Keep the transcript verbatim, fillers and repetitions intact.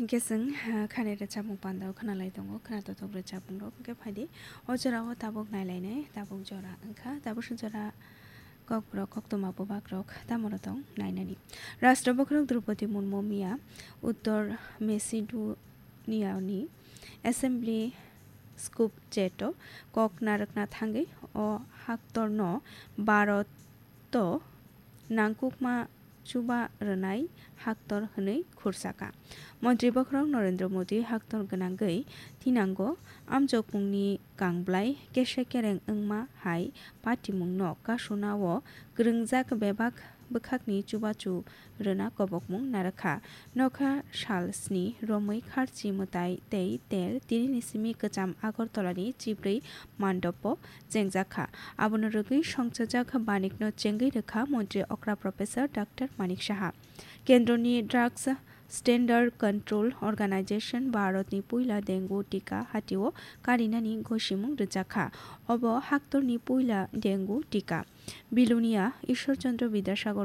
Hwnkhe chwng, ah, khani rwchapmung pandao khwnalai tongo, khwnatok tok rwchapmung rok. Hwnkhe phaidi, o jora o tabuk nailainai, tabuk jora wngkha, tabuk se jora kokborok, koktwma bubak rok tamo rw tong nainani. Rashtra bokhorok Droupadi Murmu miya Uttor Macedonia ni Assembly Skopje o kok narwkna thangwi o haktorno Bharat to nangkukma chuba rwnai haktor hwnwi khursaka. Montri bokhorok Narendra Modi haktor gwnangwi thinango amjokmungni kangblai kese kereng wngma hai patimungno kasuna o kwrwngjak bebak bwkhakni chubachu rwna kobokmung narwkha. Nokha sal sni romwi kharchi mwtai tei ter tinini simi kwcham Agartala ni chibrwi mandopo chengjakha. Abono rwgwi songchajak banikno chengwi rwkha Montri okra Professor Doctor Manik Saha. Kendroni Drugs Standard Control Organization Bharatni puila dengue tika hatio karinani gosimung rwjakha. Obo haktorni puila dengue tika. Bilonia Ishwar Chandra Vidyasagar